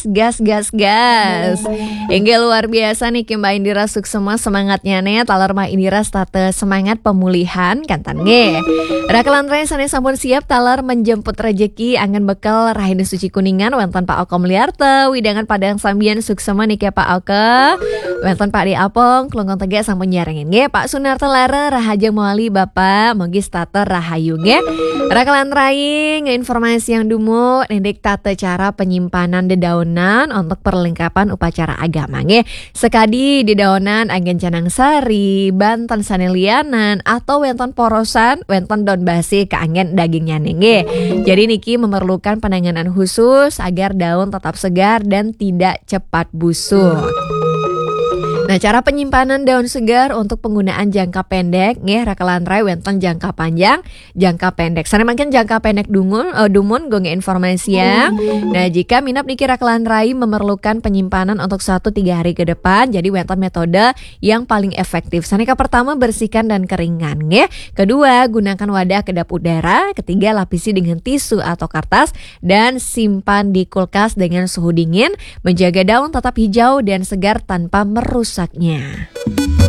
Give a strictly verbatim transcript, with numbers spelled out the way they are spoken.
Gas, gas, gas. Inggih luar biasa niki Mbak Indira, suksma semangatnya nih. Taler Mbak Indira setata semangat pemulihan kanten nggih. Raka Lantarai sané sampun siap taler menjemput rejeki anggén bekel Rahina Suci Kuningan, wénten Pak Oka Mulyarta, wewidangan Padang Sambian, suksma niki Pak Oka. Wénten Pak Dé Apong, Klungkung Tegak sampun nyarengin nggih. Pak Sunarta Lara, rahajeng mawali Bapak, mugi setata rahayu nggih. Raka Lantarai ngénformasiang dumun indik tata cara penyimpanan dedaonan untuk perlengkapan upacara agama nggih. Sakadi dedaonan anggén canang sari, banten sané lianan, atau wénten porosan, wénten daun basih kaanggén dagingnyané nggih. Jadi niki memerlukan penanganan khusus agar daun tetap segar dan tidak cepat busuk. Nah, cara penyimpanan daun segar untuk penggunaan jangka pendek nggih, Raka Lantarai, wénten jangka panjang, jangka pendek. Sané mangkin jangka pendek dumun, eh, dumun gonggé informasi ya. Nah, jika minab niki Raka Lantarai memerlukan penyimpanan untuk satu tiga hari ke depan, jadi wénten metode yang paling efektif. Sané ka pertama, bersihkan dan keringkan nggih. Kedua, gunakan wadah kedap udara. Ketiga, lapisi dengan tisu atau kertas dan simpan di kulkas dengan suhu dingin, menjaga daun tetap hijau dan segar tanpa merusaknya.